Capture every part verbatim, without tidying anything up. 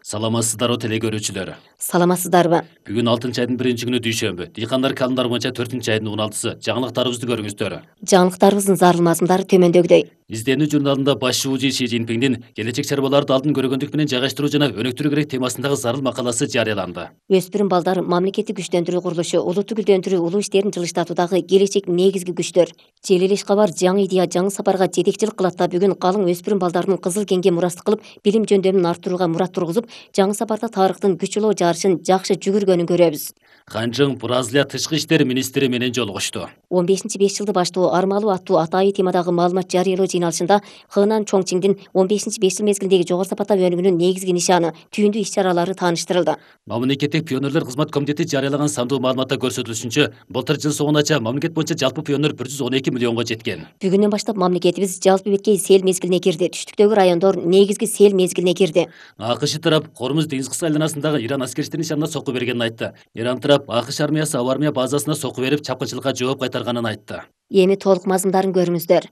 Саламатсыздарбы теле көрүүчүлөр. Саламатсыздарбы? Бүгүн алтынчы айдын биринчи күнү дүйшөмбү. Дыйкандар календарь боюнча төртүнчү айдын он алтысы. Жаңылыктарыбызды көрүңүздөр. Жаңылыктарыбыздын зарыл мазмундары төмөндөгүдөй. Изденүү журналында баш шууучу Си Цзиньпиндин келечек чарбаларды алдын көргөндүк менен жайгаштыруу жана өнүктүрүү керек темасындагы зарыл макаласы жарыяланды. Өспүрүм балдар мамлекетти күчтөндүрүү курулушу, улутту гүлдөндүрүү, улуу иштерин жылыштатуудагы келечек негизги күчтөр. Желилеш кабар жаңы идея, жаңы сапарга жетекчилик кылат да бүгүн калың өспүрүм балдардын кызыл кеңге мурастык кылып, билим жөндөмүн арттырууга мурат тургузуп, жаңы сапарда тарыхтын күч улоо жарышын жакшы жүгүргөнүн көрөбүз. Ханжың Бразилия тышкы иштер министри менен жолугушту. он бешинчи беш жылды баштоо армалуу аттуу атайы темадагы маалымат жарыялоо жыйналышында Хынан Чоңчиңдин он бешинчи беш жыл мезгилиндеги жогору сапаттагы өнүгүүнүн негизги нишаны, түйүндүү иш-чаралары тааныштырылды. Мамлекеттик пионерлер кызмат комитети жарыялаган сандуу маалыматта көрсөтүлүшүнчө, былтыр жыл соңунача мамлекет боюнча жалпы пионер бир жүз он эки миллионго жеткен. Бүгүндөн баштап мамлекетибиз жалпы беткей сел мезгилине кирди. Түштүктөгү райондор негизги сел мезгилине кирди. АКШ тарап Кормуз деңиз кыска айланасындагы Иран аскерчилеринин нишанына сокку бергенин айтты. Иран тарап АКШ армиясы аба армия базасына сокку берип, чапкынчылыкка жооп кайтарганын айтты. Эми толук мазмундарын көрүңүздөр.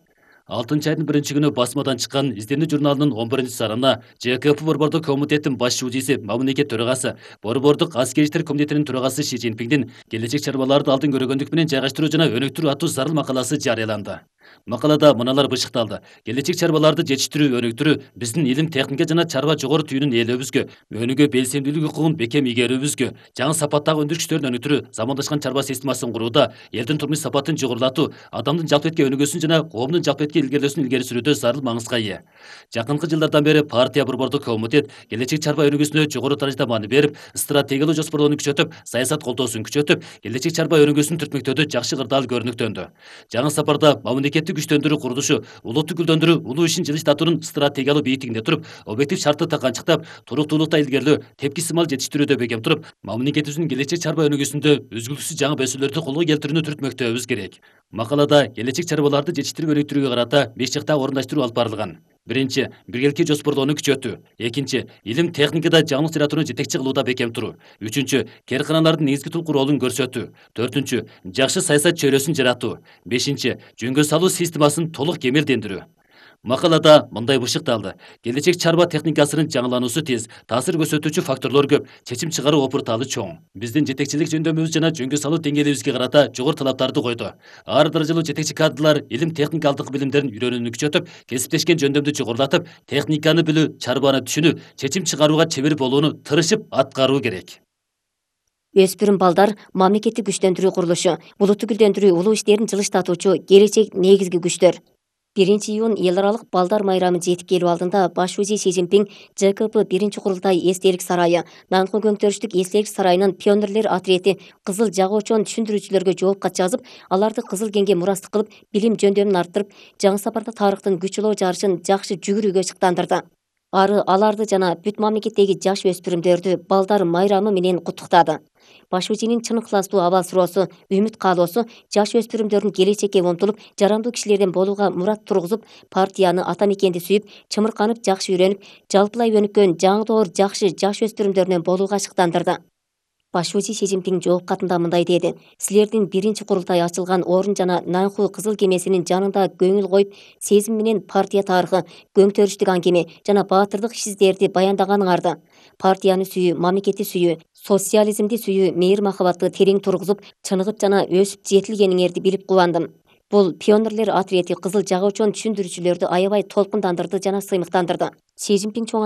алтынчы айдын биринчи күнү басмадан чыккан Изденүү журналынын он биринчи санына Ж К П Борбордук комитеттин баш шуучусу, мамлекет төрагасы, Борбордук аскер иштер комитетинин төрагасы Си Цзиньпиндин келечек чарбаларды алдын көргөндүк менен жайгаштыруу жана өнүктүрүү аттуу зарыл макаласы жарыяланды. Макалада мыналар бышыкталды. Келечек чарбаларды жетиштирүү, өнүктүрүү биздин илим, техника жана чарба жогору түйүнүн ээлөөбүзгө, өнүгүү белсемдүүлүк укугун бекем игерүүбүзгө, жаңы сапаттагы өндүрүш күчтөрүн өнүктүрүү, замандашкан чарба системасын курууда, элдин турмуш сапатын жогорулатуу, адамдын жалпы этке өнүгүүсүн жана коомдун жалпы этке илгерилөөсүн илгери сүрүүдө зарыл маңызга ээ. Жакынкы жылдардан бери партия Борбордук комитет келечек чарба өнүгүүсүнө жогору даражада маани берип, стратегиялуу жоспарлоону күчөтүп, саясат колдоосун күчөтүп, келечек чарба өнүгүүсүн түртмөктөөдө жакшы кырдаал көрүнүктөндү. Жаңы сапарда мамлекетти күчтөндүрүү курулушу, улутту гүлдөндүрүү, улуу ишин жылыштатуунун стратегиялуу бийиктигинде туруп, объектив шарттыкта канчыктап, туруктуулукта илгерилөө, тепки сымал жетиштирүүдө бекем туруп, мамлекетибиздин келечек чарба өнүгүүсүндө үзгүлтүксүз жаңы бесүүлөрдү колго келтирүүнү түртмөктөөбүз керек. Макалада келечек чарбаларды жетиштирип өнүктүрүүгө карата беш жактагы орундаштыруу алып барылган. Биринчи, биргеликке жоспорлоону күчөтүү. Экинчи, илим техникада жаңылык жаратууну жетекчи кылууда бекем туруу. Үчүнчү, кээрканалардын негизги тулку ролун көрсөтүү. Төртүнчү, жакшы саясат чөйрөсүн жаратуу. Бешинчи, жөнгө салуу системасын толук кемелдендирүү. Макалада мындай бышыкталды. Келечек чарба техникасынын жаңылануусу тез, таасир көрсөтүүчү факторлор көп, чечим чыгаруу опуртаалы чоң. Биздин жетекчилик жөндөмүбүз жана жөнгө салуу деңгээлибизге карата жогору талаптарды койду. Ар даражалуу жетекчи кадрлар илим техникалдык билимдерин үйрөнүүнү күчөтүп, кесиптешкен жөндөмдү жогорулатып, техниканы билүү, чарбаны түшүнүү, чечим чыгарууга чебер болууну тырышып аткаруу керек. Өспүрүм балдар мамлекетти күчтөндүрүү курулушу, улутту гүлдөндүрүү, улуу иштерин жылыштатуучу келечек негизги күчтөр. биринчи июнь эл аралык балдар майрамы жетип келүү алдында баш шүүчу Си Цзиньпин Ж К П биринчи курултай эстелик сарайы, Нанхун көңтөрүштүк эстелик сарайынын пионерлер отрети кызыл жагуучон түшүндүрүүчүлөргө жооп кат жазып, аларды кызыл кеңге мурастык кылып, билим жөндөмүн арттырып, жаңы сапарда тарыхтын күч улоо жарышын жакшы жүгүрүүгө шыктандырды. Ары аларды жана бүт мамлекеттеги жаш өспүрүмдөрдү балдар майрамы менен куттуктады. Баш шүүчүнүн чын ыкыластуу абал суроосу, үмүт каалоосу жаш өспүрүмдөрдүн келечекке умтулуп, жарандуу кишилерден болууга мурат тургузуп, партияны, ата мекенди сүйүп, чымырканып жакшы үйрөнүп, жалпылай өнүккөн жаңы доор жакшы жаш өспүрүмдөрүнөн болууга шыктандырды. Баш шүүчү Си Цзиньпин жооп катында мындай деди. Силердин биринчи курултай ачылган орун жана Нанху кызыл кемесинин жанында көңүл коюп, сезим менен партия тарыхы, көңтөрүштүк аңгеме жана баатырдык иш-издерди баяндаганыңарды, партияны сүйүү, мамлекетти сүйүү, социализмди сүйүү, мейир махабатты терең тургузуп, чыныгып жана өсүп жетилгениңерди билип кубандым. Бул пионерлер отрети кызыл жагуучон түшүндүрүүчүлөрдү аябай толкундандырды жана сыймыктандырды. Си Цзиньпин чоң